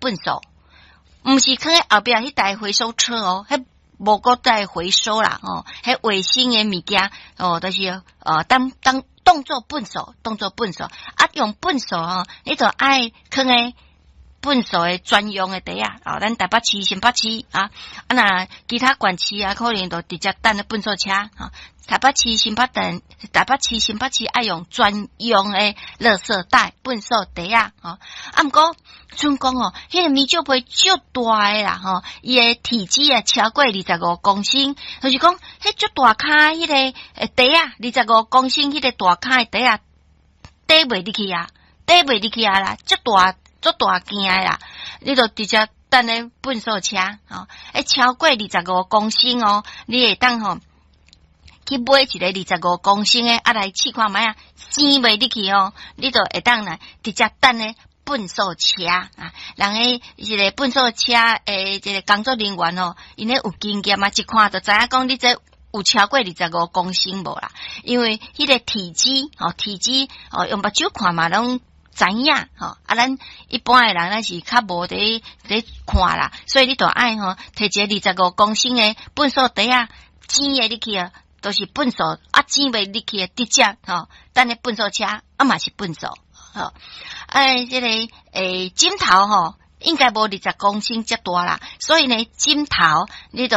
糞埽，毋是囥佇後壁彼台回收車哦，彼無閣再回收啦吼，彼衛生的物件哦，就是當當當做糞埽，當做糞埽，啊用糞埽吼，你就愛囥佇糞埽的專用的袋仔，哦，咱台北市、新北市啊，啊若其他縣市啊，可能就直接等咧糞埽車，吼。台北市、新北等，台北市、新北市愛用專用的垃圾袋、糞埽袋仔，吼。啊，毋過賰講哦，彼個棉紙皮足大的啦，吼，伊的體積啊超過25公升，就是講，彼足大跤彼個袋仔，二十五公升彼個大跤的袋仔，綴袂入去啊，綴袂入去啊啦，足大。足大件的啦，你就直接等咧糞埽車，吼，欸，超過二十五公升哦，你會當吼去買一个二十五公升的，啊來試看覓啊，擠袂入去哦，你就會當來直接等咧糞埽車啊。人彼一个糞埽車的這个工作人員哦，𪜶咧有經驗啊，一看就知影講你這有超過二十五公升無啦，因為彼個體積哦，體積哦，用目睭看嘛攏知影吼，啊，咱一般的人咱是較無佇佇看啦，所以你就愛吼，提一个二十五公升的糞埽袋仔，擠會入去啊，都是糞埽啊，擠袂入去的直接吼，等咧糞埽車啊嘛是糞埽吼，哎，這個枕頭吼，應該無二十公升遮大啦，所以呢，枕頭你就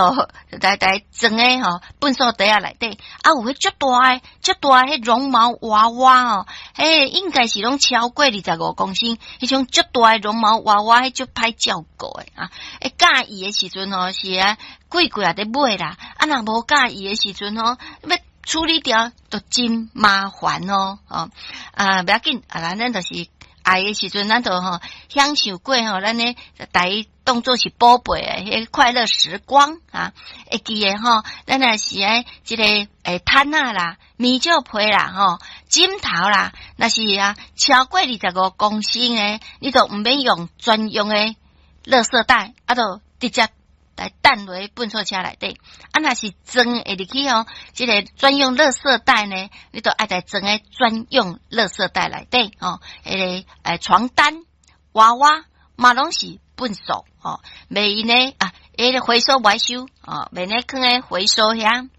來來裝佇吼糞埽袋仔內底，啊有彼足大的、足大的彼絨毛娃娃哦，彼應該是攏超過二十五公升，彼種足大的絨毛娃娃，彼足歹照顧的啊！欸，佮意的時陣吼是啊，幾個月佇買啦，啊若無佮意的時陣吼，欲處理掉都真麻煩哦，哦啊，袂要緊啊，咱就是愛的時陣，咱就吼享受過吼，咱咧來當做是寶貝的彼個快樂時光啊！會記得吼，咱若是愛這個毯仔啦、棉紙被啦、吼枕頭啦，若是啊超過二十五公升的，你就毋免用專用的垃圾袋，啊，就直接來擲落糞埽車內底。啊，若是裝會入去哦，這個專用垃圾袋呢，你就愛來裝佇專用垃圾袋內底哦。彼個床單、娃娃嘛攏是糞埽哦，袂用呢啊，彼個回收袂收哦，袂咧囥佇回收遐。